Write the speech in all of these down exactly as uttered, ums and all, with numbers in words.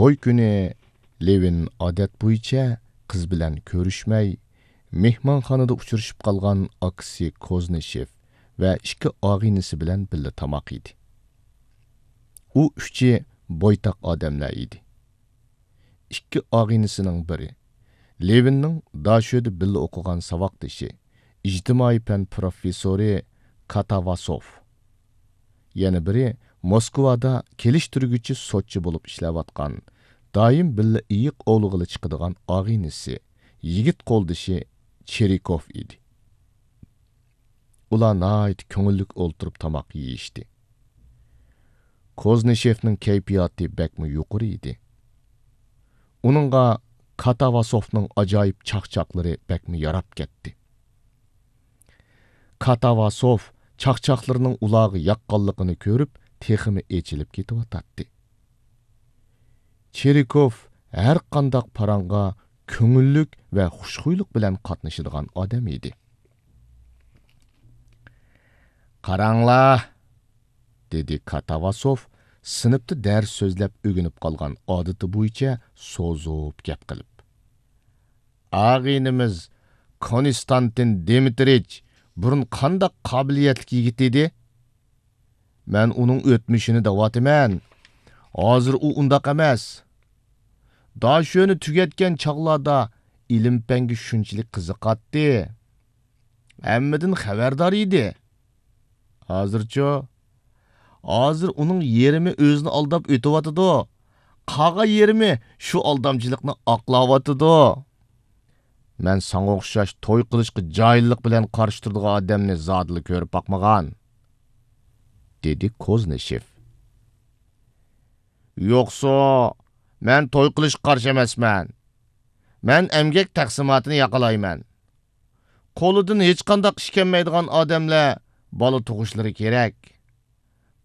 توي كۈنى لېۋىن ئادەت بويىچە قىز بىلەن كۆرۈشمەي، مېھمانخانىدا ئۇچرىشىپ قالغان ئاكىسى كوزنىشېف ۋە ئىككى ئاغىنىسى بىلەن بىللە تاماق يېدى. ئۇ ئۈچى بويتاق ئادەملەر ئىدى. ئىككى ئاغىنىسىنىڭ بىرى، لېۋىننىڭ داشۆدە بىللە ئوقۇغان ساۋاقدىشى، ئىجتىمائىي پەن پروفېسسورى كاتاۋاسوف. يەنە بىرى موسكۋادا كېلىشتۈرگۈچى سوتچى بولۇپ ئىشلەۋاتقان، دائىم بىللە ئېيىق ئوۋلىغىلى چىقىدىغان ئاغىنىسى، يىگىت قولدىشى چېرىكوف ئىدى. ئۇلار ناھايىتى كۆڭۈللۈك ئولتۇرۇپ تاماق يېيىشتى. كوزنىشېفنىڭ كەيپىياتى بەكمۇ يۇقىرى ئىدى. ئۇنىڭغا كاتاۋاسوفنىڭ ئاجايىپ چاقچاقلىرى بەكمۇ ياراپ كەتتى. كاتاۋاسوف چاقچاقلىرىنىڭ ئۇلارغا ياققانلىقىنى كۆرۈپ، تېخىمۇ ئېچىلىپ كېتىۋاتاتتى. چېرىكوف ھەر قانداق پاراڭغا كۆڭۈللۈك ۋە خۇشخۇيلۇق بىلەن قاتنىشىدىغان ئادەم ئىدى. «قاراڭلار!» دېدى كاتاۋاسوف سىنىپتا دەرس سۆزلەپ ئۆگىنىپ قالغان ئادىتى بويىچە سوزۇپ گەپ قىلىپ. «ئاغىنىمىز كونستانتىن دىمىترىچ بۇرۇن قانداق قابىلىيەتلىك يىگىت ئىدى؟ مەن ئۇنىڭ ئۆتمۈشىنى دەۋاتىمەن. ھازىر ئۇ ئۇنداق ئەمەس. داشۆنى تۈگەتكەن چاغلاردا ئىلىم-پەنگە شۇنچىلىك قىزىقاتتى. ھەممىدىن خەۋەردار ئىدى. ھازىرچۇ؟ ھازىر ئۇنىڭ يېرىمى ئۆزىنى ئالداپ ئۆتۈۋاتىدۇ. قالغان يېرىمى شۇ ئالدامچىلىقنى ئاقلاۋاتىدۇ. مەن ساڭا ئوخشاش توي قىلىشقا جاھىللىق بىلەن قارشى تۇرىدىغان ئادەمنى زادىلا كۆرۈپ باقمىغان»، دېدى كوزنىشېف. «يوقسۇ، مەن توي قىلىشقا قارشى ئەمەسمەن. مەن ئەمگەك تەقسىماتىنى ياقىلايمەن. قولىدىن ھېچقانداق ئىش كەلمەيدىغان ئادەملەر بالا تۇغۇشلىرى كېرەك.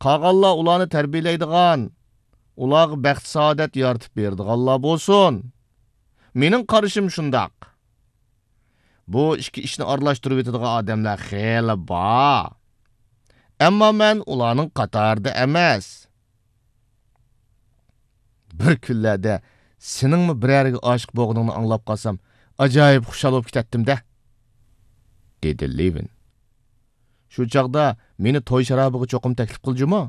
قالغانلار ئۇلارنى تەربىيەلەيدىغان، ئۇلارغا بەخت-سائادەت يارىتىپ بېرىدىغانلار بولسۇن. مېنىڭ قارىشىم شۇنداق. بۇ ئىككى ئىشنى ئارىلاشتۇرۇۋېتىدىغان ئادەملەر خېلى بار. ئەمما مەن ئۇلارنىڭ قاتارىدا ئەمەس. بىر كۈنلەردە سېنىڭمۇ بىرەرگە ئاشىق بولغىنىڭنى ئاڭلاپ قالسام، ئاجايىپ خۇشال بولۇپ كېتەتتىم-دە»، دېدى لېۋىن. «شۇ چاغدا مېنى توي شارابىغا چوقۇم تەكلىپ قىل جۇمۇ.»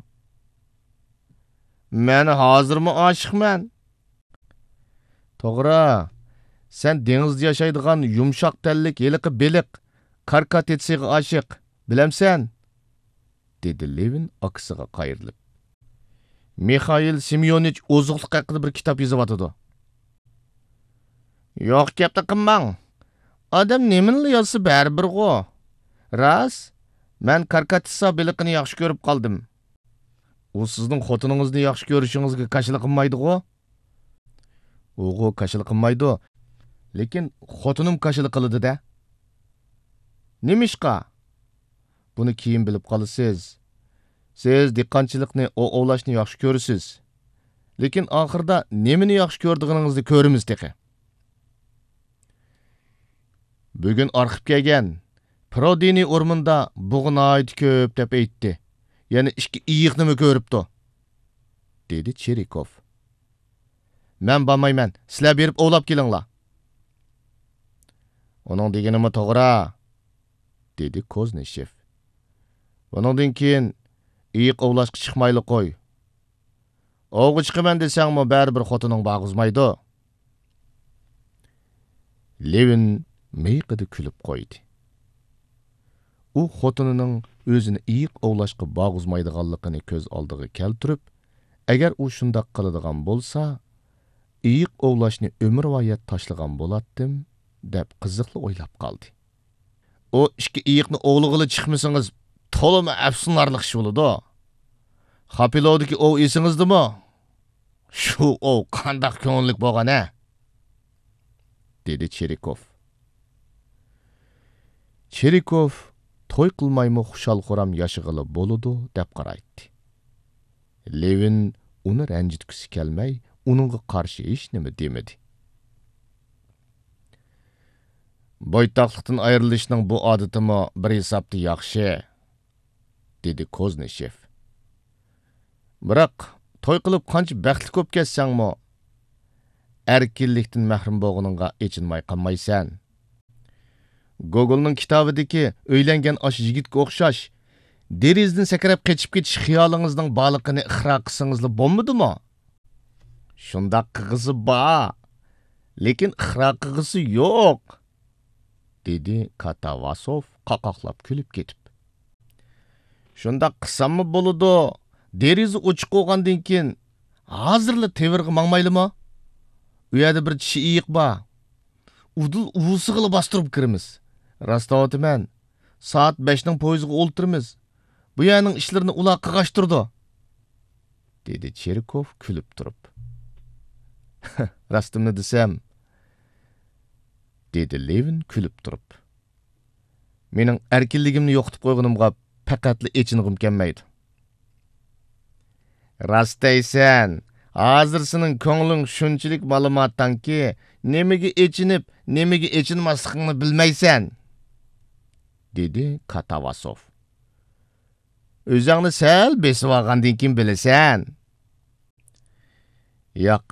«مەن ھازىرمۇ ئاشىقمەن.» «توغرا، سەن دېڭىزدا ياشايدىغان يۇمشاق تەنلىك ھېلىقى بېلىق كاركاتىتسىغا ئاشىق، بىلەمسەن؟» دېدى لېۋىن ئاكىسىغا قايرىلىپ. «مىخائىل سېميونىچ ئوزۇقلۇق ھەققىدە بىر كىتاب يېزىۋاتىدۇ.» «يوق گەپنى قىلماڭ. ئادەم نېمىنىلا يازسا بەرىبىرغۇ. راست، مەن كاركاتىتسا بېلىقىنى ياخشى كۆرۈپ قالدىم.» «ئۇ سىزنىڭ خوتۇنىڭىزنى ياخشى كۆرۈشىڭىزگە كاشىلا قىلمايدىغۇ؟» «ئۇغۇ كاشىلا قىلمايدۇ، لېكىن خوتۇنۇم كاشىلا قىلىدۇ-دە.» «نېمىشقا؟» «بۇنى كېيىن بىلىپ قالىسىز. سىز دېھقانچىلىقنى، ئوۋ ئوۋلاشنى ياخشى كۆرىسىز. لېكىن ئاخىرىدا نېمىنى ياخشى كۆرىدىغىنىڭىزنى كۆرىمىز تېخى.» «بۈگۈن ئارخىپ كەلگەن، پرودىنى ئورمىنىدا بۇغا ناھايىتى كۆپ دەپ ئېيتتى. يەنە ئىككى ئېيىقنىمۇ كۆرۈپتۇ.» دېدى چېرىكوف. «مەن بارمايمەن، سىلەر بېرىپ ئوۋلاپ كېلىڭلار.» «ئۇنىڭ دېگىنىمۇ توغرا.» دېدى كوزنىشېف. «بۇنىڭدىن كېيىن ئېيىق ئوۋلاشقا چىقمايلا قوي. ئوۋغا چىقىمەن دېسەڭمۇ، بەرىبىر خوتۇنۇڭ بارغۇزمايدۇ.» لېۋىن مىيىقىدا كۈلۈپ قويدى. ئۇ خوتۇنىنىڭ ئۆزىنى ئېيىق ئوۋلاشقا بارغۇزمايدىغانلىقىنى كۆز ئالدىغا كەلتۈرۈپ، ئەگەر ئۇ شۇنداق قىلىدىغان بولسا، ئېيىق ئوۋلاشنى ئۆمۈرۋايەت تاشلىغان بولاتتىم، دەپ قىزىقلا ئويلاپ قالدى. «ئۇ ئىككى ئېيىقنى ئوۋلىغىلى چىقمىسىڭىز، تولىمۇ ئەپسۇسلىنارلىق ئىش بولىدۇ. خاپىلوۋدىكى ئوۋ ئېسىڭىزدىمۇ؟ شۇ ئوۋ قانداق كۆڭۈللۈك بولغان ھە؟» دېدى چېرىكوف. چېرىكوف توي قىلمايمۇ خۇشال-خۇرام ياشىغىلى بولىدۇ، دەپ قارايتتى. لېۋىن ئۇنى رەنجىتكۈسى كەلمەي، ئۇنىڭغا قارشى ھېچنېمە دېمىدى. «بويتاقلىقتىن ئايرىلىشنىڭ بۇ ئادىتىمۇ بىر ھېسابتا ياخشى.» دېدى كوزنىشېف. «بىراق، توي قىلىپ قانچە بەختلىك بولۇپ كەتسەڭمۇ، ئەركىنلىكتىن مەھرۇم بولغىنىڭغا ئېچىنماي قالمايسەن. گوگولنىڭ كىتابىدىكى ئۆيلەنگەن ئاشۇ يىگىتكە ئوخشاش، دېرىزىدىن سەكرەپ قېچىپ كېتىش خىيالىڭىزنىڭ بارلىقىنى ئىقرار قىلسىڭىزلا بولمىدىمۇ؟ شۇنداق قىلغۇسى بار، لېكىن ئىقرار قىلغۇسى يوق، دېدى كاتاۋاسوف قاقاقلاپ كۈلۈپ كېتىپ. شۇنداق قىلساممۇ بولىدۇ، دېرىزە ئوچۇق بولغاندىن كېيىن ھازىرلا تېۋىرغا ماڭمايلىمۇ؟ ئۇ يەردە بىر چىشى ئېيىق بار. ئۇدۇل ئۇۋىسىغىلا باستۇرۇپ كىرىمىز. راست دەۋاتىمەن، سائەت بەشنىڭ پويىزىغا ئولتۇرىمىز. بۇ يەرنىڭ ئىشلىرىنى ئۇلار قىلغاچتۇرىدۇ، دېدى چېرىكوف كۈلۈپ تۇرۇپ. راستىمنى دېسەم، دېدى لېۋىن كۈلۈپ تۇرۇپ. مېنىڭ ئەركىنلىكىمنى يوقىتىپ قويغىنىمغا پەقەتلا ئېچىنغۇم كەلمەيدۇ. راست دەيسەن، ھازىر سېنىڭ كۆڭلۈڭ شۇنچىلىك مالىماتاڭكى، نېمىگە ئېچىنىپ، نېمىگە ئېچىنماسلىقىڭنى بىلمەيسەن، دېدى كاتاۋاسوف. ئۆزۈڭنى سەل بېسىۋالغاندىن كېيىن بىلىسەن. ياق،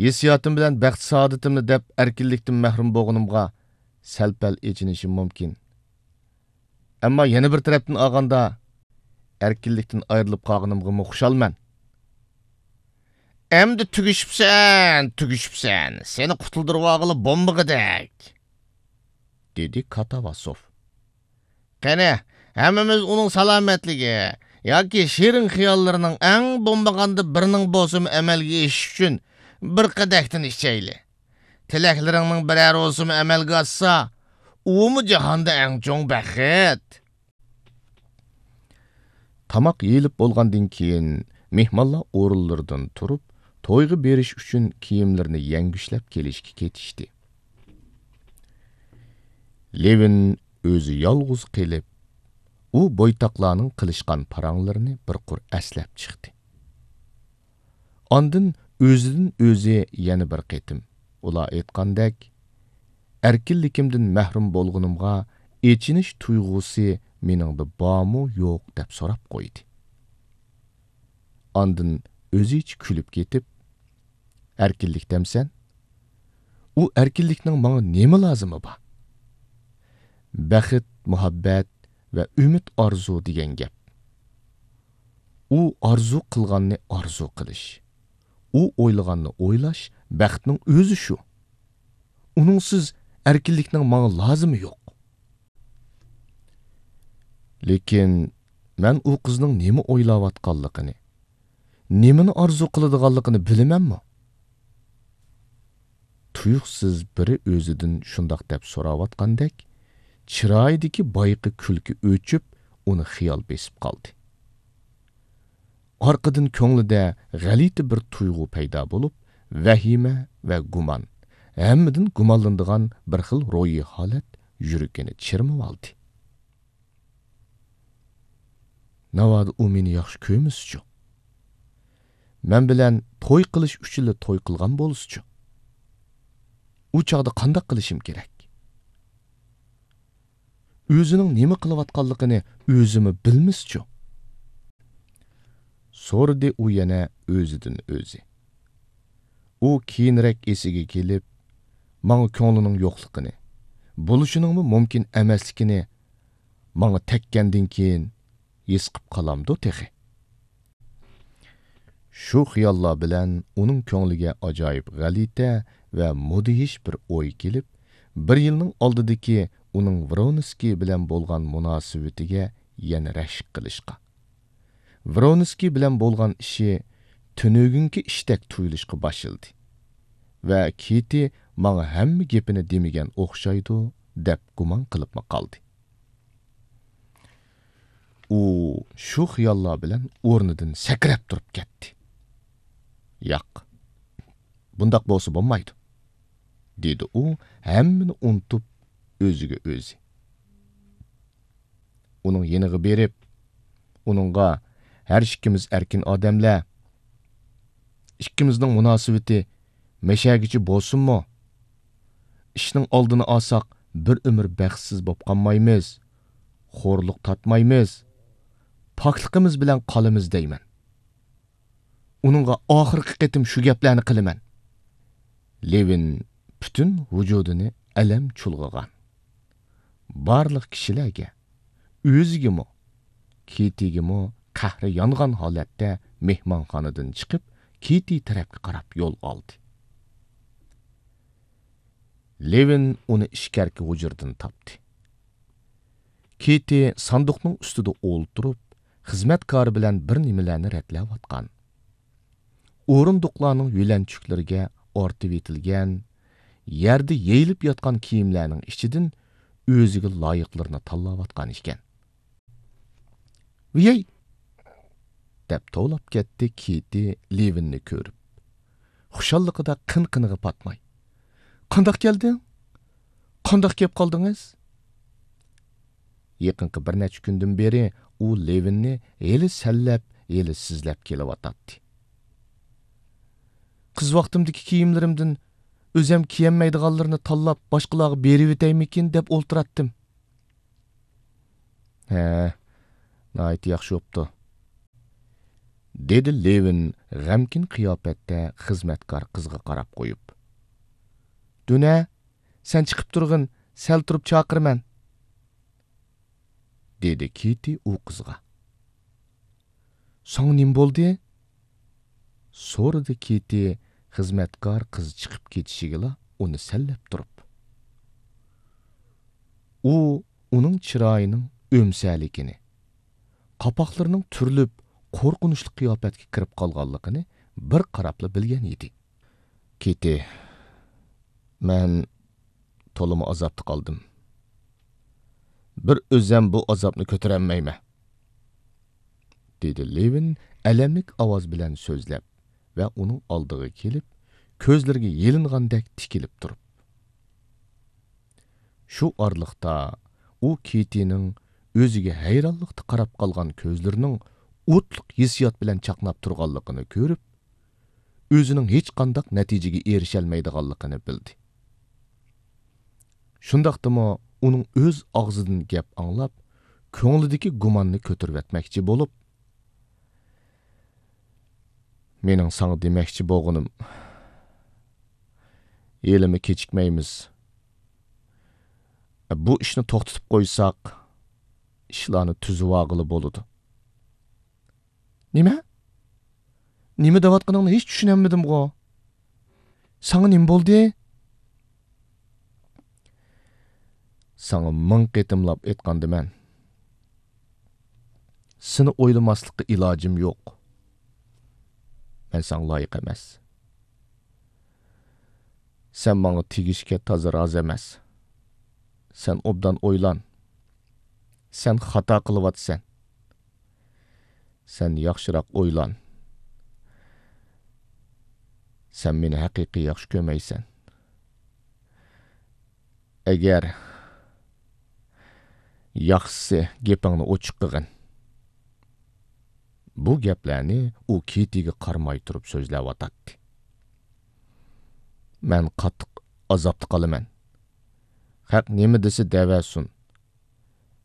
ھېسسىياتىم بىلەن بەخت-سائادىتىمنى دەپ ئەركىنلىكتىن مەھرۇم بولغىنىمغا سەل-پەل ئېچىنىشىم مۇمكىن. ئەمما يەنە بىر تەرەپتىن ئالغاندا، ئەركىنلىكتىن ئايرىلىپ قالغىنىمغىمۇ خۇشالمەن. ئەمدى تۈگىشىپسەن، تۈگىشىپسەن. سېنى قۇتۇلدۇرۇۋالغىلى بولمىغۇدەك، دېدى كاتاۋاسوف. قېنى، ھەممىمىز ئۇنىڭ سالامەتلىكى ياكى شېرىن خىياللىرىنىڭ ئەڭ بولمىغاندا بىرىنىڭ بولسىمۇ ئەمەلگە ئېشىشى ئۈچۈن بىر قەدەھتىن ئىچەيلى. تىلەكلىرىڭنىڭ بىرەر بولسىمۇ ئەمەلگە ئاشسا، ئۇمۇ جاھاندا ئەڭ چوڭ بەخت. تاماق يېيىلىپ بولغاندىن كېيىن، مېھمانلار ئورۇنلىرىدىن تۇرۇپ، تويغا بېرىش ئۈچۈن كىيىملىرىنى يەڭگۈشلەپ كېلىشكە كېتىشتى. لېۋىن ئۆزى يالغۇز قېلىپ، ئۇ بويتاقلارنىڭ قىلىشقان پاراڭلىرىنى بىر قۇر ئەسلەپ چىقتى. ئاندىن ئۆزىدىن ئۆزى يەنە بىر قېتىم، ئۇلار ئېيتقاندەك، ئەركىنلىكىمدىن مەھرۇم بولغىنىمغا ئېچىنىش تۇيغۇسى مېنىڭدە بارمۇ يوق دەپ سوراپ قويدى. ئاندىن ئۆزىچە كۈلۈپ كېتىپ، ئەركىنلىك دەمسەن؟ ئۇ ئەركىنلىكنىڭ ماڭا نېمە لازىمى بار؟ بەخت، مۇھەببەت ۋە ئۈمىد، ئارزۇ دېگەن گەپ. ئۇ ئارزۇ قىلغاننى ئارزۇ قىلىش، ئۇ ئويلىغاننى ئويلاش بەختنىڭ ئۆزى شۇ. ئۇنىڭسىز ئەركىنلىكنىڭ ماڭا لازىمى يوق. لېكىن مەن ئۇ قىزنىڭ نېمە ئويلاۋاتقانلىقىنى، نېمىنى ئارزۇ قىلىدىغانلىقىنى بىلىمەنمۇ؟ تۇيۇقسىز بىرى ئۆزىدىن شۇنداق دەپ سوراۋاتقاندەك، چىرايىدىكى بايىقى كۈلكە ئۆچۈپ، ئۇنى خىيال بېسىپ قالدى. ئارقىدىن كۆڭلىدە غەلىتە بىر تۇيغۇ پەيدا بولۇپ، ۋەھىمە ۋە گۇمان، ھەممىدىن گۇمانلىنىدىغان بىر خىل روھىي ھالەت يۈرىكىنى چىرمىۋالدى. ناۋادا ئۇ مېنى ياخشى كۆرمىسىچۇ؟ مەن بىلەن توي قىلىش ئۈچۈنلا توي قىلغان بولسىچۇ؟ ئۇ چاغدا قانداق قىلىشىم كېرەك؟ ئۆزىنىڭ نېمە قىلىۋاتقانلىقىنى ئۆزىمۇ بىلمىسىچۇ؟ سورىدى ئۇ يەنە ئۆزىدىن ئۆزى. ئۇ كېيىنرەك ئېسىگە كېلىپ، ماڭا كۆڭلىنىڭ يوقلۇقىنى، بولۇشىنىڭمۇ مۇمكىن ئەمەسلىكىنى ماڭا تەگكەندىن كېيىن ھېس قىپ قالامدۇ تېخى؟ شۇ خىياللار بىلەن ئۇنىڭ كۆڭلىگە ئاجايىپ غەلىتە ۋە مۇدھىش بىر ئوي كېلىپ، بىر يىلنىڭ ئالدىدىكى ئۇنىڭ ۋرونسكىي بىلەن بولغان مۇناسىۋىتىگە يەنە رەشك قىلىشقا، ۋرونسكىي بىلەن بولغان ئىشى تۈنۈگۈنكى ئىشتەك تۇيۇلۇشقا باشلىدى ۋە كېتى ماڭا ھەممە گېپىنى دېمىگەن ئوخشايدۇ، دەپ گۇمان قىلىپمۇ قالدى. ئۇ شۇ خىياللار بىلەن ئورنىدىن سەكرەپ تۇرۇپ كەتتى. ياق، بۇنداق بولسا بولمايدۇ، دېدى ئۇ ھەممىنى ئۇنتۇپ ئۆزىگە ئۆزى. ئۇنىڭ يېنىغا بېرىپ، ئۇنىڭغا، ھەر ئىككىمىز ئەركىن ئادەملەر، ئىككىمىزنىڭ مۇناسىۋىتى مەشەگىچە بولسۇنمۇ؟ ئىشنىڭ ئالدىنى ئالساق، بىر ئۆمۈر بەختسىز بولۇپ قالمايمىز، خورلۇق تارتمايمىز، پاكلىقىمىز بىلەن قالىمىز دەيمەن. ئۇنىڭغا ئاخىرقى قېتىم شۇ گەپلەرنى قىلىمەن. لېۋىن پۈتۈن ۋۇجۇدىنى ئەلەم چۇلغىغان. بارلىق كىشىلەرگە، ئۆزىگىمۇ، كېتىگىمۇ قەھرى يانغان ھالەتتە مېھمانخانىدىن چىقىپ، كېتى تەرەپكە قاراپ يول ئالدى. لېۋىن ئۇنى ئىچكەرىكى ھۇجرىدىن تاپتى. كېتى ساندۇقنىڭ ئۈستىدە ئولتۇرۇپ، خىزمەتكارى بىلەن بىر نېمىلەرنى رەتلەۋاتقان. ئورۇندۇقلارنىڭ يۆلەنچۈكلىرىگە ئارتىۋېتىلگەن، يەردە يېيىلىپ ياتقان كىيىملەرنىڭ ئىچىدىن ئۆزىگە لايىقلىرىنى تاللاۋاتقان ئىكەن. ۋىيەي! دەپ توۋلاپ كەتتى كېتى لېۋىننى كۆرۈپ، خۇشاللىقىدا قىن-قىنىغا پاتماي. قانداق كەلدىڭ؟ قانداق كەپ قالدىڭىز؟ يېقىنقى بىر نەچچە كۈندىن بېرى ئۇ لېۋىننى ھېلى سەنلەپ، ھېلى سىزلەپ كېلىۋاتاتتى. قىز ۋاقتىمدىكى كىيىملىرىمدىن ئۆزەم كىيەلمەيدىغانلىرىنى تاللاپ، باشقىلارغا بېرىۋېتەيمىكىن دەپ ئولتۇراتتىم. ھە، ناھايىتى ياخشى بوپتۇ، دېدى لېۋىن غەمكىن قىياپەتتە خىزمەتكار قىزغا قاراپ قويۇپ. دۈنە، سەن چىقىپ تۇرغىن، سەل تۇرۇپ چاقىرىمەن، دېدى كېتى ئۇ قىزغا. ساڭا نېمە بولدى؟ سورىدى كېتى خىزمەتكار قىز چىقىپ كېتىشىگىلا ئۇنى سەنلەپ تۇرۇپ. ئۇ ئۇنىڭ چىرايىنىڭ ئۆمسەلىكىنى، قاپاقلىرىنىڭ تۈرۈلۈپ قورقۇنچلۇق قىياپەتكە كىرىپ قالغانلىقىنى بىر قاراپلا بىلگەن ئىدى. كېتى، مەن تولىمۇ ئازابتا قالدىم. بىر ئۆزەم بۇ ئازابنى كۆتۈرەلمەيمەن، دېدى لېۋىن ئەلەملىك ئاۋاز بىلەن سۆزلەپ ۋە ئۇنىڭ ئالدىغا كېلىپ، كۆزلىرىگە يېلىنغاندەك تىكىلىپ تۇرۇپ. شۇ ئارىلىقتا ئۇ كېتىنىڭ ئۆزىگە ھەيرانلىقتا قاراپ قالغان كۆزلىرىنىڭ ئوتلۇق ھېسسىيات بىلەن چاقناپ تۇرغانلىقىنى كۆرۈپ، ئۆزىنىڭ ھېچقانداق نەتىجىگە ئېرىشەلمەيدىغانلىقىنى بىلدى. شۇنداقتىمۇ ئۇنىڭ ئۆز ئاغزىدىن گەپ ئاڭلاپ، كۆڭلىدىكى گۇماننى كۆتۈرۈۋەتمەكچى بولۇپ، مېنىڭ ساڭا دېمەكچى بولغىنىم، ھېلىمۇ كېچىكمەيمىز. بۇ ئىشنى توختىتىپ قويساق، ئىشلارنى تۈزۈۋالغىلى بولىدۇ. نېمە؟ نېمە دەۋاتقىنىڭنى ھېچ چۈشىنەلمىدىمغۇ؟ ساڭا نېمە بولدى؟ ساڭا مىڭ قېتىملاپ ئېيتقاندىمەن. سېنى ئويلىماسلىققا ئىلاجىم يوق. مەن ساڭا لايىق ئەمەس. سەن ماڭا تېگىشكە تازا رازى ئەمەس. سەن ئوبدان ئويلان. سەن خاتا قىلىۋاتىسەن. سەن ياخشىراق ئويلان. سەن مېنى ھەقىقىي ياخشى كۆرمەيسەن. ئەگەر ياخشىسى گېپىڭنى ئوچۇق قىلغىن. بۇ گەپلەرنى ئۇ كېتىگە قارىماي تۇرۇپ سۆزلەۋاتاتتى. مەن قاتتىق ئازابتا قالىمەن. خەق نېمە دېسە دەۋەرسۇن.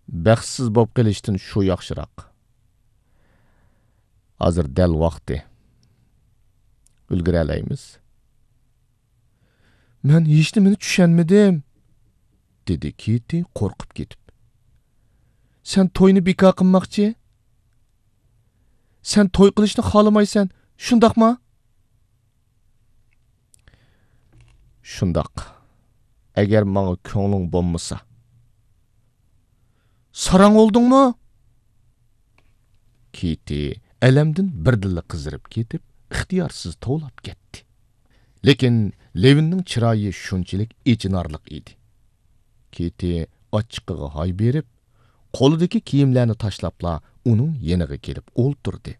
بەختسىز بولۇپ قېلىشتىن شۇ ياخشىراق. ھازىر دەل ۋاقتى. ئۈلگۈرەلەيمىز. مەن ھېچنېمىنى چۈشەنمىدىم، دېدى كېتى قورقۇپ كېتىپ. سەن توينى بىكار قىلماقچى؟ سەن توي قىلىشنى خالىمايسەن، شۇنداقما؟ شۇنداق. ئەگەر ماڭا كۆڭلۈڭ بولمىسا. ساراڭ بولدۇڭمۇ؟ كېتى ئەلەمدىن بىردىنلا قىزىرىپ كېتىپ، ئىختىيارسىز توۋلاپ كەتتى. لېكىن لېۋىننىڭ چىرايى شۇنچىلىك ئېچىنارلىق ئىدى. كېتى ئاچچىقىغا ھاي بېرىپ، قولىدىكى كىيىملەرنى تاشلاپلا ئۇنىڭ يېنىغا كېلىپ ئولتۇردى.